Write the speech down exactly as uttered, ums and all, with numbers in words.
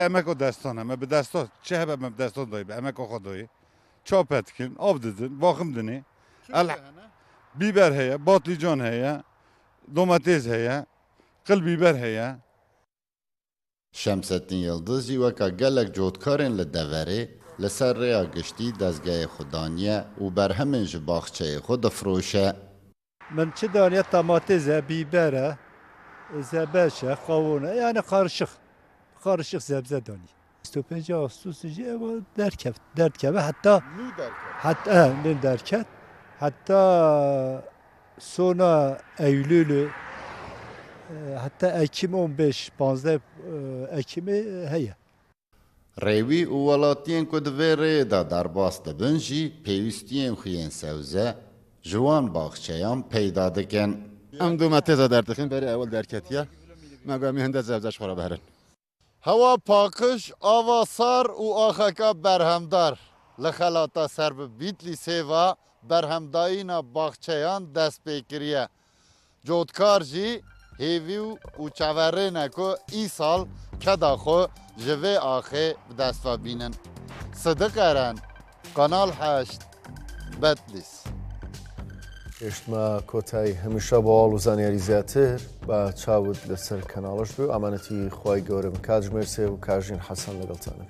Emeko destan, em bi destan, çi hebe em bi destan dayî, bi emeko xwe dayî. Çape dikin, av didin, baxim dinê. El-, bîber heye, batlîcan heye, domatês heye, qil bîber heye. Şemsettin Yildiz jî weka gelek cotkarên li deverê li ser rêya giştî dezgehê xwe daniye û berhemên ji baxçeyê xwe difiroşe. Min çi daniye, tamatêz e, bîber e, zebeş e, qawon e, yani qarışıq. Qarışıq zebze danî. Bîst û pênc Ağustos jî ev derkev, derdkeve heta Nû derket. Heta, e, nû derket. Heta sona Eylülü, e, heta Ekim on beş, panzdeh, e, Ekimê heye. Rêwî û welatiyên ku di vê rêyê de derbas dibin jî pêwîstiyên xwe yên sebze ji wan baxçeyan peyda dikin. Em domatêsa derdixin, berê ewil derketiye. Me got, em ê hinde sebze ji xwe re biherin. Hewa paqij, ava sar û axeka berhemdar li xelata ser bi Bîtlîsê ve berhemdayîna baxçeyan dest pê kiriye. Cotkar jî hêvî û, û çaverê ne ku îsal keda xwe ji vê axê bi dest ve bînin. Sidiq Eren, Kanal heşt, Betlîs. Gehiştime kotayî, hemîşe bo ol û zaniyarî zêdetir ba çawit li ser kanaliş bi. Emanetî Xway Gewre bin, katjimêrsê û Kajîn Hesen li gel te ne.